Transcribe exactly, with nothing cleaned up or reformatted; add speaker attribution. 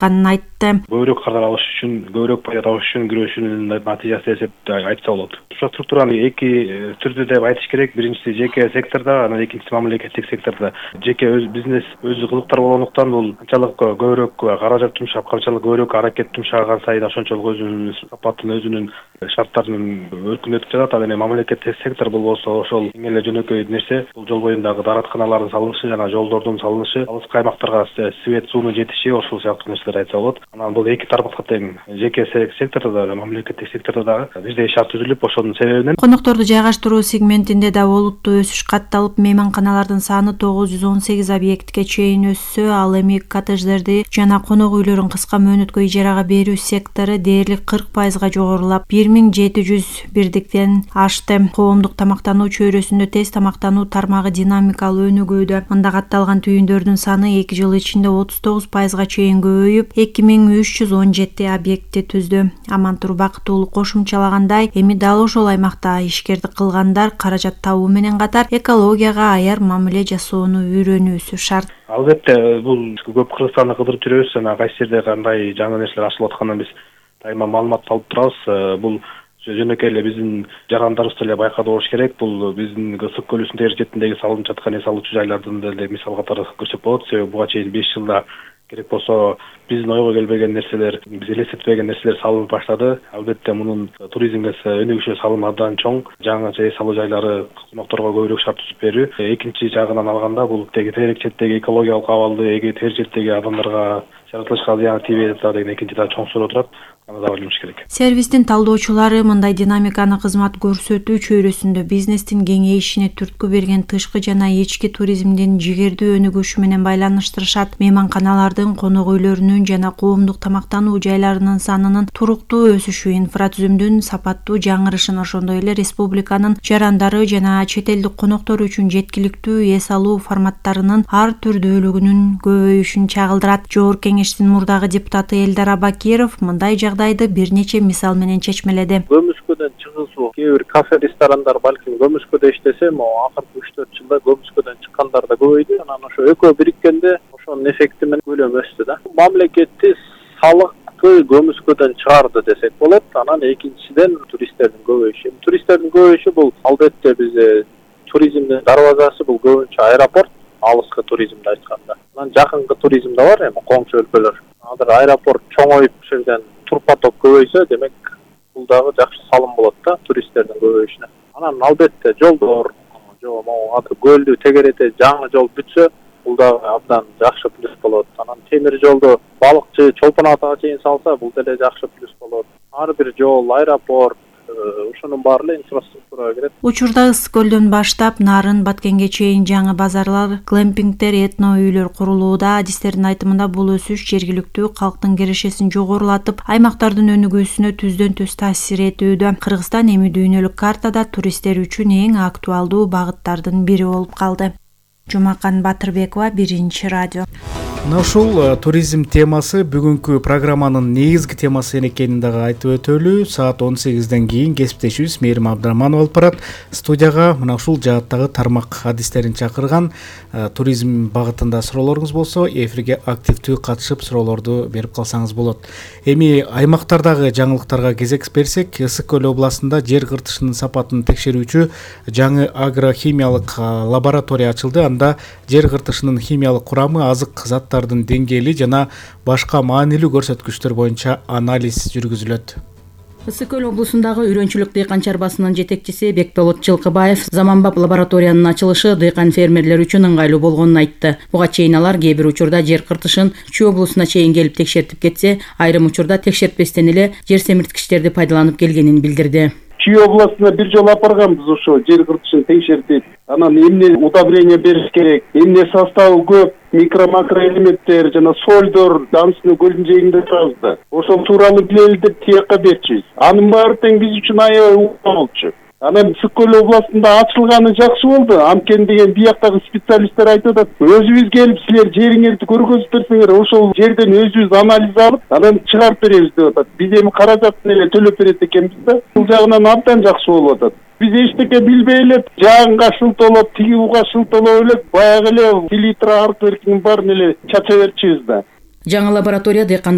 Speaker 1: айтты.
Speaker 2: Көбүрөөк кардар алыш үчүн, көбүрөөк пайда табыш үчүн күрөшүүнүн натыйжасы деп айтса болот. Инфраструктураны эки түрдө деп айтыш керек. Биринчиси жеке секторда, анан экинчиси мамлекеттик секторда. Жеке өз бизнес өзү кызыктар болгондуктан бул канчалык көбүрөөк каражат жумшап, канчалык көбүрөөк аракет жумшаган сайын ошончолук өзүнүн сапатын, өзүнүн шарттарын өркүндөтүп жатат. Ал эми мамлекеттик сектор болбосо ошол эң эле жөнөкөй нерсе бул жол боюндагы дааратканалардын салынышы жана жолдордун салынышы, алыскы аймактарга свет суунун жетиши, ошол сыяктуу нерселер айтса болот. Анан бул эки тармакка тең, жеке сектордо да, мамлекеттик сектордо да бизде шарт түзүлүп, ошонун себебинен
Speaker 1: конокторду жайгаштыруу сегментинде да олуттуу өсүш катталып, мейманканалардын саны тогуз жүз он сегиз объектке чейин өссө, ал эми коттедждерди жана конок үйлөрүн кыска мөөнөткө ижарага берүү сектору дээрлик кырк пайызга жогорулап, бир миң жети жүз бирдиктен ашты. Коомдук тамактануу чөйрөсүндө тез тамактануу тармагы динамикалуу өнүгүүдө. Мында катталган түйүндөрдүн саны эки жыл ичинде отуз тогуз пайызга чейин көбөйүп, эки миң үч жүз он жети объектти түздү. Амантур Бакытуулу кошумчалагандай, эми дал ошол аймакта ишкердик кылгандар каражат табуу менен катар экологияга аяр мамиле жасоону үйрөнүүсү шарт.
Speaker 2: Албетте, бул көп Кыргызстанды кыдырып жүрөбүз, жана кайсы жерде кандай жаңы нерселер ашылып атканын биз дайыма маалымат алып турабыз. Бул жөнөкөй эле биздин жарандарыбыз деле байкады болуш керек. Бул биздин Ысык көлүнүн тегерек четинде салынып жаткан эс алуучу жайлардын деле мисал катары көрсөтүп болот. Себеби буга чейин беш жылда керек болсо биздин ойго келбеген нерселер, биз элестетпеген нерселер салынып баштады. Албетте мунун туризмге өнүгүшү салымы абдан чоң. Жаңы эс алуу жайлары конокторго көбүрөөк шарт түзүп берүү. Экинчи жагынан алганда бул тегерек четтеги экологиялык абалды, тегерек четтеги адамдарга, жаратылышка зыяны тийбейт деген экинчи да чоң суроо турат. Аны да ойлонуш керек.
Speaker 1: Сервистин талдоочулары мындай динамиканы кызмат көрсөтүү чөйрөсүндө бизнестин кеңейишине түрткү берген тышкы жана ички туризмдин жигердүү өнүгүшү менен байланыштырышат. Мейманканалардын, конок үйлөрүнүн жана коомдук тамактануу жайларынын санынын туруктуу өсүшү, инфратүзүмдүн сапаттуу жаңырышын, ошондой эле республиканын жарандары жана чет элдик коноктор үчүн жеткиликтүү эс алуу форматтарынын ар түрдүүлүгүнүн көбөйүшүн чагылдырат. Жогорку кеңештин мурдагы депутаты Элдар Абакиров мындай жагдайды бир нече мисал менен чечмеледи.
Speaker 3: Көмүскөдөн чыгуусу, кээ бир кафе ресторандар балким көмүскөдө иштесе, могу акыркы үч төрт жылда көмүскөдөн чыккандар да көбөйдү. Анан ошо экөө бириккенде ошонун эффекти менен көлөм өстү да. Мамлекетти салыкты көмүскөдөн чыгарды десек болот. Анан экинчиден туристтердин көбөйүшү. Туристтердин көбөйүшү бул албетте биз туризмдин дарбазасы, бул көбүнчө аэропорт, алыскы туризмди айтканда. Анан жакынкы туризм да бар, эми коңшу өлкөлөр. Азыр аэропорт чоңоюп, ошол жерден тур поток көбөйсө, демек бул дагы жакшы салым болот да туристтердин көбөйүшүнө. Анан албетте жолдор, жол могу азыр көлдү тегерете жаңы жол бүтсө, бул дагы абдан жакшы плюс болот. Анан темир жолду балыкчы Чолпон атага чейин салса, бул деле жакшы плюс болот. Ар бир жол, аэропорт, ошонун баары эле инфраструктурага кирет.
Speaker 1: Учурда Ысык көлдөн баштап Нарын, Баткенге чейин жаңы базарлар, глэмпингдер, этно үйлөр курулууда. Адистердин айтымында бул өсүш жергиликтүү калктын кирешесин жогорулатып, аймактардын өнүгүүсүнө түздөн түз таасир этүүдө. Кыргызстан эми дүйнөлүк картада туристтер үчүн эң актуалдуу багыттардын бири болуп калды. Жумакан Батырбекова, Биринчи радио.
Speaker 4: Мына ушул туризм темасы бүгүнкү программанын негизги темасы экенин дагы айтып өтөлү. Саат он сегизден кийин кесиптешибиз Мээрим Абдраманов алып барат. Студияга мына ушул жааттагы тармак адистерин чакырган. Туризм багытында суроолоруңуз болсо, эфирге активдүү катышып суроолорду берип калсаңыз болот. Эми аймактардагы жаңылыктарга кезек берсек, Ысык көл областында жер кыртышынын сапатын текшерүүчү жаңы агрохимиялык лаборатория ачылды. Анда жер кыртышынын химиялык курамы, азык заттардын деңгээли жана башка маанилүү көрсөткүчтөр боюнча анализ жүргүзүлөт.
Speaker 5: Ысык көл облусундагы Үйрөнчүлүк дыйкан чарбасынын жетекчиси Бекболот Жылкыбаев заманбап лабораториянын ачылышы дыйкан фермерлер үчүн ыңгайлуу болгонун айтты. Буга чейин алар кээ бир учурда жер кыртышын Чүй облусуна чейин келип текшертип кетсе, айрым учурда текшертпестен эле жер семирткичтерди пайдаланып келгенин билдирди.
Speaker 6: Чүй областына бир жолу апарганбыз ошо жер кыртышын текшертип, анан эмне удобрение бериш керек, эмне составы көп, микро-макроэлементтер жана сольдор Дамсыны көлүнүн жээгинде турабыз да. Ошол тууралуу билели деп тияка берчүбүз. Анын баары тең биз үчүн аябай укук болчу. Анан Ысык көл областында ачылганы жакшы болду. Анткени деген бияктагы специалисттер айтып атат, өзүбүз келип силер жериңерди көргөзүп берсеңер, ошол жерден өзүбүз анализ алып, анан чыгарып беребиз деп атат. Биз эми каражатын эле төлөп берет экенбиз да. Бул жагынан абдан жакшы болуп атат. Биз эчтеке билбей эле жаагынга шылтоолоп, тиги буга шылтоолоп эле баягы эле селитра аркы эркинин баарын эле чача берчүбүз да.
Speaker 5: жаңы лаборатория дыйкандар